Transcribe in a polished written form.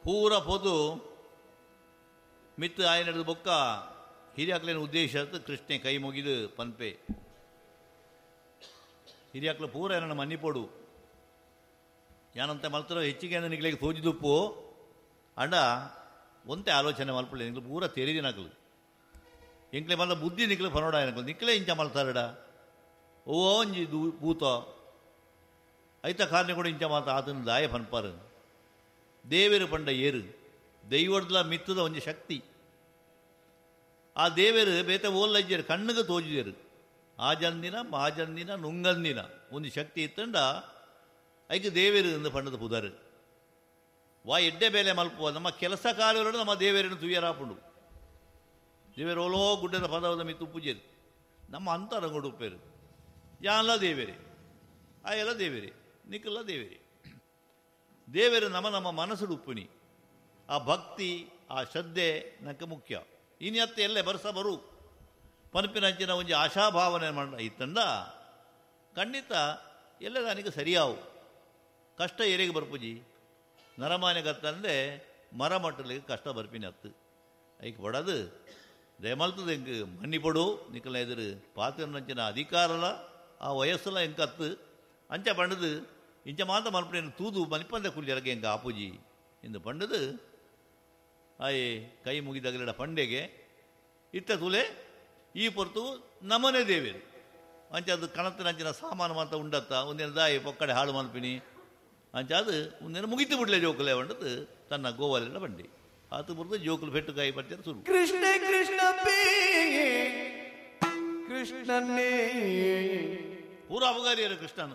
ಪೂರ ಪೋದು ಮಿತ್ತು ಆಯನದು ಬೊಕ್ಕ ಹಿರಿಯಾಕ್ಲೇನ ಉದ್ದೇಶ ಕೃಷ್ಣೆ ಕೈ ಮುಗಿದು ಪನ್ಪೆ ಹಿರಿಯಾಕ್ಲ ಪೂರ ಏನನ್ನ ಮನ್ನಿಪೋಡು ಯಾನಂತ ಮಲ್ತರ ಹೆಚ್ಚಿಗೆ ನಿಗ್ಲಿಗೆ ತೋಜಿದುಪ್ಪು ಅಂಡ ಒಂತೆ ಆಲೋಚನೆ ಮಲ್ಪಲೆ ನಿಗ್ಲು ಪೂರ ತೆರಿದಿನಕಲು ಎಂಕ್ಲೆ ಮಲ್ಲ ಬುದ್ಧಿ ನಿಕ್ಲೆ ಫನೋಡ ಏನಕಲು ನಿಕ್ಲೆ ಇಂಚ ಮಲ್ತಾರಡ ಓ ಒಂಜಿ ಭೂತ ಐತ ಕಾರಣ ಕೂಡ ಇಂಚ ಮಾತ ಆತನ ದಾಯ ಫನ್ಪಾರು ದೇವೇರು ಪಂಡ ಏರು ದೈವಡ್ಲ ಮಿತ್ತದ ಒಂಜಿ ಶಕ್ತಿ ಆ ದೇವೇರು ಬೇತೆ ಓಲ್ಲಜ್ಜರು ಕಣ್ಣಿಗೆ ತೋಜಿದರು ಆ ಜಂದಿನ ಮಾಜಂದಿನ ನುಂಗಂದಿನ ಒಂದು ಶಕ್ತಿ ಇತ್ತಂಡ ಐಕೆ ದೇವೇರು ಎಂದು ಪಂಡದ ಪುದರು ವಾ ಎಡ್ಡೆ ಬೇಲೆ ಮಲ್ಪುವ ನಮ್ಮ ಕೆಲಸ ಕಾರ್ಯಗಳು ನಮ್ಮ ದೇವೇರನ್ನು ತುಯ್ಯರಾಪುಂಡು ದೇವೇರು ಓಲೋ ಗುಡ್ಡದ ಪದವದ ಮಿತ್ತು ಪೂಜೆರು ನಮ್ಮ ಅಂತರಂಗಡು ಉಪ್ಪೇರು ಯಾನ್ಲ ದೇವೇರಿ ಆಯೆಲ್ಲ ದೇವೇರಿ ನಿಕ್ಕಲ್ಲ ದೇವೇರಿ ದೇವೇರು ನಮ್ಮ ನಮ್ಮ ಮನಸ್ಸು ಉಪ್ಪುನಿ ಆ ಭಕ್ತಿ ಆ ಶ್ರದ್ಧೆ ನಕ್ಕೆ ಮುಖ್ಯ ಇನ್ಯತ್ತೆ ಎಲ್ಲೇ ಬರ್ಸ ಬರು ಪನಪಿನಂಚಿನ ಒಂಜಿ ಆಶಾಭಾವನೆ ಮಾಡ ಇತ್ತಂದ ಖಂಡಿತ ಎಲ್ಲ ನನಗೆ ಸರಿಯಾವು ಕಷ್ಟ ಏರಿಗೆ ಬರ್ಪುಜಿ ನರಮಾನ್ಯಗತ್ತಂದೆ ಮರ ಮಟ್ಟಲಿಗೆ ಕಷ್ಟ ಬರ್ಪಿನ ಅತ್ತು ಐಕ್ ಬಡದು ದಯಮಲ್ತದ ಎಂಕ್ ಮನ್ನಿಪಡು ನಿಕ್ಕಲ ಎದುರು ಪಾತ್ರನಂಚಿನ ಅಧಿಕಾರಲ ಆ ವಯಸ್ಸುಲ ಎಂಕತ್ತು ಅಂಚ ಪಂಡದು ಇಂಚ ಮಾತ ಮಲ್ಪನೇನು ತೂದು ಮನಿಪಂದೆ ಕುಲ್ಯರಗೆ ಎಂಕ ಆಪುಜಿ ಎಂದು ಪಂಡದು ಆಯೆ ಕೈ ಮುಗಿದಾಗಲಿಡ ಪಂಡೆಗೆ ಇತ್ತ ತುಲೆ ಈ ಪೊರ್ತು ನಮನೆ ದೇವೇರು ಅಂಚ ಅದು ಕಣತ್ತಿನಂಚಿನ ಸಾಮಾನು ಮಾತ ಉಂಡತ್ತ ಒಂದಿನ ದಾಯಿ ಪೊಕ್ಕಡೆ ಹಾಳು ಮಲ್ಪಿನಿ ಅಂಚ ಅದು ಒಂದಿನ ಮುಗಿತು ಬಿಡ್ಲೆ ಜೋಕುಲೆ వంಡದು ತನ್ನ ಗೋವಾಲೆಲ್ಲ ಬಂಡಿ ಆತು ಬುರ್ದು ಜೋಕುಲು ಪೆಟ್ಟು ಕಾಯಿ ಪಡ್ತಾರೆ ಶುರು. ಕೃಷ್ಣ ಕೃಷ್ಣ ಕೃಷ್ಣನೇ ಪೂರ ಅಬಗಾರಿಯರು ಕೃಷ್ಣನು.